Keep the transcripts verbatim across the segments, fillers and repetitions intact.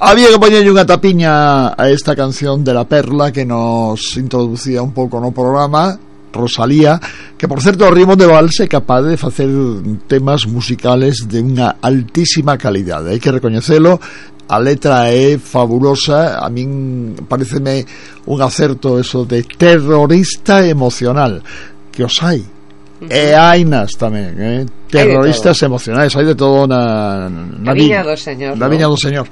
había que poñerlle unha tapiña a esta canción de La Perla que nos introducía un pouco no programa, Rosalía, que por certo Rimón de Vals é capaz de facer temas musicales de unha altísima calidade, hai que recoñecelo. A letra é fabulosa, a min pareceme un acerto eso de terrorista emocional, que os hai. Uh-huh. E hainas tamén, eh? Terroristas emocionais, hai de todo na, na, na viña do Señor, na ¿no? viña do Señor.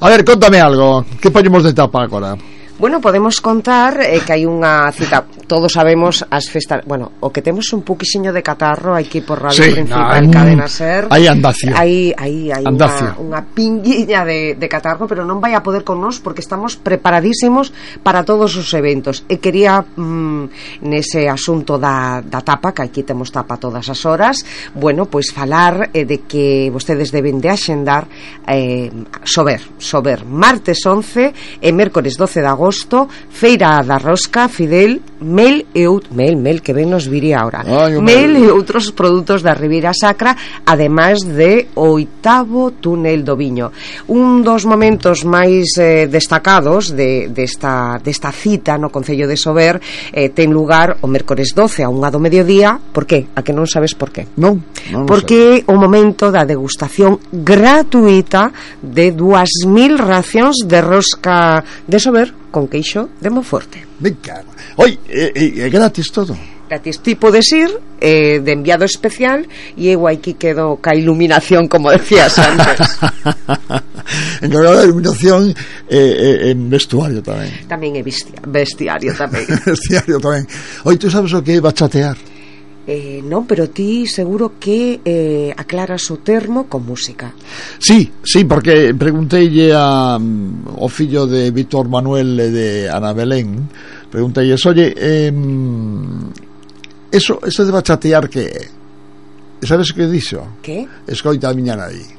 A ver, contame algo, que poñemos de tapa agora? Bueno, podemos contar eh, que hai unha cita, todos sabemos as festas, bueno, o que temos un poquisiño de catarro aquí por Radio sí, Principal, no, Cadena Ser. Hai andacio. Hai, hai, hai andacio. Unha, unha pinguiña de, de catarro, pero non vai a poder con nós porque estamos preparadísimos para todos os eventos. E quería, mm, nese asunto da, da tapa, que aquí temos tapa todas as horas, bueno, pois falar eh, de que vostedes deben de axendar eh, sober, sober, martes once e mércores doce de agosto, feira da rosca, Fidel, mel e out, mel, mel que ben nos viría ahora. Ay, mel e outros produtos da Ribeira Sacra, ademais de o oitavo túnel do viño. Un dos momentos máis eh, destacados de, desta, desta cita no Concello de Sober eh, ten lugar o mércores doce a unha do mediodía. Por que? A que non sabes por qué? Non, non porque o momento da degustación gratuita de dúas mil racións de rosca de Sober con queixo de Monforte. Venga. Oi, é, é gratis todo. Gratis, ti podes ir eh, de enviado especial e eu aquí quedo ca iluminación, como decías antes. Encargado de iluminación eh, eh, en vestuario tamén. Tamén é bestia, bestiario tamén. Bestiario tamén. Oi, tú sabes o que é bachatear? Eh, non, pero ti seguro que eh, aclaras o termo con música. Sí, sí, porque pregunteille a, um, o fillo de Víctor Manuel e de Ana Belén, pregunteille, oye, eh, eso, eso de bachatear que é? Sabes o que dixo? Que? Escoita a miña nai.